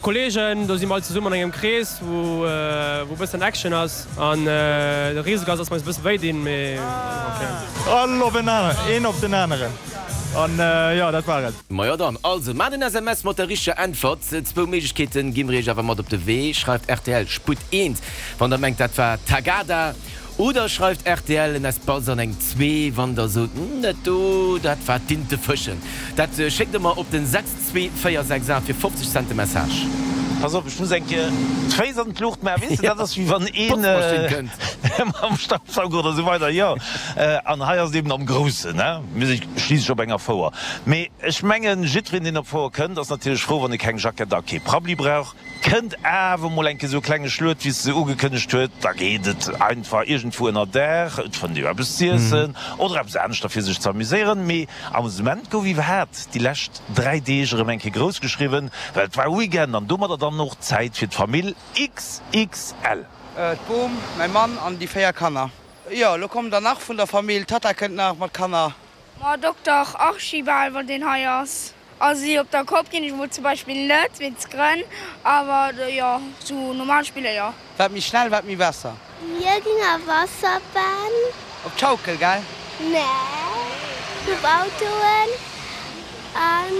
Kollegen, do si mer all zesummen an engem Krees, wou wou bëssen Action ass an de Risiko ass, dass mer eis e bësse wéi dinn, mee ok. All op en aneren, een op den aneren an jo, dat war et. Majo dann, also maacht en SMS mat der richteger Äntwert. Zwou Méiglechkeeten gi mer iech awer mat op de Wee, Schreift rtl Sputt eent, wann der mengt dat war Tagada. Oder schreift rtl en Espace an eng 2, wann der sot, Net do, dat war d'Intefëschen. Dat schéckt der mer op den 62468 fir 50 Cent de Message. Pass op, ech muss eng Kéier d'Féiss an d'Luucht maachen, weess de, dat ass wéi wann een mam Staubsauger oder esou weider, jo. An hei ass et eben am Groussen, he, mir si schliisslech op enger Fouer. Mee ech mengen, jiddwereen, deen op d'Fouer kënnt, ass natierlech frou, wann e keng Jackett a kee Prabbeli brauch. Kënnt awer mol eng Kéier sou e klenge Schluet, wéi se se ugekënnegt huet, da geet et einfach iergendwou ënner Daach, et fënnt ee jo eppes z'iessen oder eppes aneschter fir sech z'amuséieren. Mee Amusement gouf iwwerhaat déi lescht 3 Deeg erëm eng Kéier grouss geschriwwen, well et war Weekend an domadder dann och Zäit fir d'Famill XXL. D'Bom, mäi Mann an déi 4 Kanner. Jo, lo kommen der nach vun der Famill, d'Tatta kënnt nach mat Kanner. Ma Dokter Archibald, wann deen hei ass. Also op der Kopp ginn ech mol zum Beispill net, wéinst Grënn, awer jo sou normal spiller jo. Wat méi schnell, wat méi besser. Mir ginn a Wasserbahn. Op d'Schaukel, gell? Nee, op Autoen an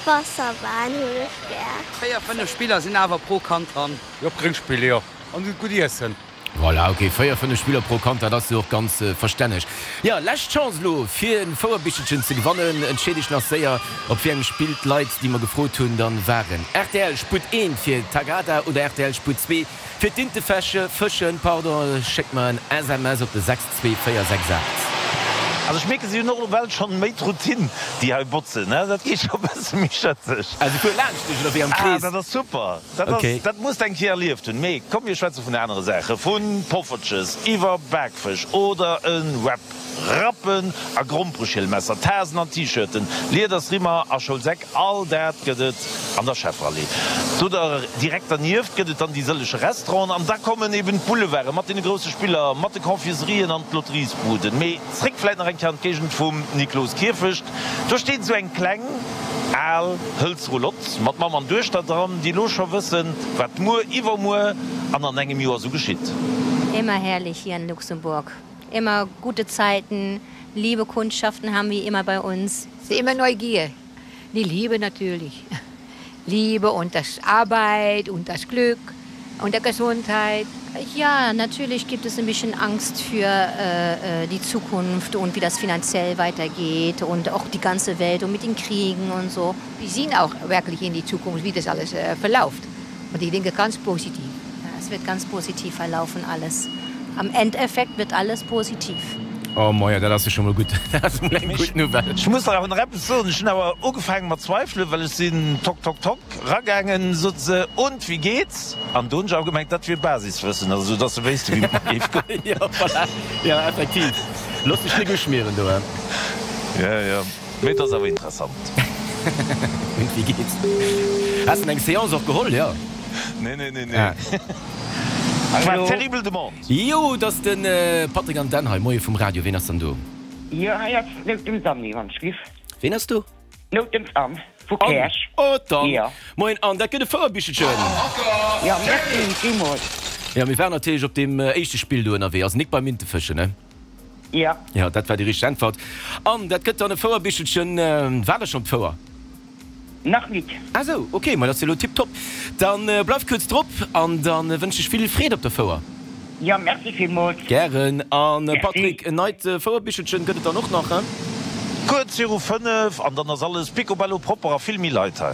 Wasserbahn hunn ech gär. 4, 5 Spiller sinn awer pro Kand dran. Jo, op Gréngspiller, jo. An gutt iessen. Voilà, ok, 4, 5 Spiller pro Kand, dat ass jo och ganz verstänneg. Jo, lescht Chance elo fir en Fouerbichelchen ze gewannen. Entscheet iech nach séier, op wéi engem Spill d'Leit, déi mer gefrot hunn, dann waren. Rtl Sputt 1 fir Tagada oder rtl Sputt 2 fir d'Intefesche, Fëschen, pardon. Schéckt mer en SMS op de 62468. Also ech mierken, si hunn och ewell schonn méi d'Routine, déi hei botzen, dat geet scho bësse méi schëtzeg. Ah, se fuere laanscht dech oder wéi am Krees? Ah, dat ass super. Dat ass, dat muss de eng Kéier erlieft hunn. Mee komm, mir schwätze vun anere Saachen, vu Poffertjes iwwer Bakfësch oder e Wrap, Rappen a Grompereschielmesser, Tasen an T-Shirten, Liedersrimmer a Schoulsäck, all dat gëtt et an der Schefferallee. Do direkt dernieft gëtt et dann déi sëllege Restauranten an da kommen eben d'Boulevarde mat deene grousse Spiller, mat de Confiserien an d'Lotteriesbuden. Mee zréck vläit nach eng Kéier an d'Géigend vum Nikloskierfecht. Do steet esou eng kleng, al hëlze Roulotte mat Mamm an Duechter dran, déi elo scho wëssen, wat muer, iwwermuer an an engem Joer esou geschitt. Immer herrlich hier in Luxemburg. Immer gute Zeiten, liebe Kundschaften haben wir immer bei uns. Es ist immer Neugier, die Liebe natürlich. Liebe und das Arbeit und das Glück und der Gesundheit. Ja, natürlich gibt es ein bisschen Angst für äh, äh, die Zukunft und wie das finanziell weitergeht und auch die ganze Welt und mit den Kriegen und so. Wir sehen auch wirklich in die Zukunft, wie das alles äh, verläuft. Und ich denke ganz positiv. Ja, es wird ganz positiv verlaufen alles. Am Endeffekt wird alles positiv. Oh moia, dat ass jo scho mol gutt. Dat ass mol eng gutt Nouvelle. Ech muss der awer nach eppes soen, Ech hunn awer ugefaange mat zweifelen, well ech sinn tock, tock, tock ragaangen, sot se, und, wie geht's? An do hunn ech awer gemengt, dat wier Basiswëssen, also dass se wéisste wéi et mer géif goen. Jo, voilà, jo, effektiv. Looss dech nik uschmieren do, he. Jo, jo, mee et ass awer interessant. Und wie geht's? Has de eng Seance och geholl, jo? Nee, nee, nee, nee. Et war terribel Demande. Jo, et ass de Patrick an d'Anne hei. Moie vum Radio. Ween ass dann do? Jo, hei ass d'Noutens Anne, wann ech giff. Ween ass do? D'Noutens Anne vu Käerch. Oh, d'Anne. Jo. Moien Anne, dat gëtt e Fouerbichelchen. Jo, merci villmools. Jo, mir waren natierlech op deem éischte Spill do ënnerwee. Also nik beim Intefëschen, ne? Jo. Jo, dat war déi richteg Äntwert. Anne, dat gëtt dann e Fouerbichelchen. Waart der schonn op d'Fouer? Nach nit. Ah sou, ok, ma dat ass jo elo tiptop. Dann bleif kuerz drop an dann wënsch ech vill Freed op der Fouer. Jo, merci villmools. Gären. An Patrick, en neit Fouerbichelchen gëtt et dann och nach, he? Kuerz viru 5 an dann ass alles picobello propper a vill méi Leit hei.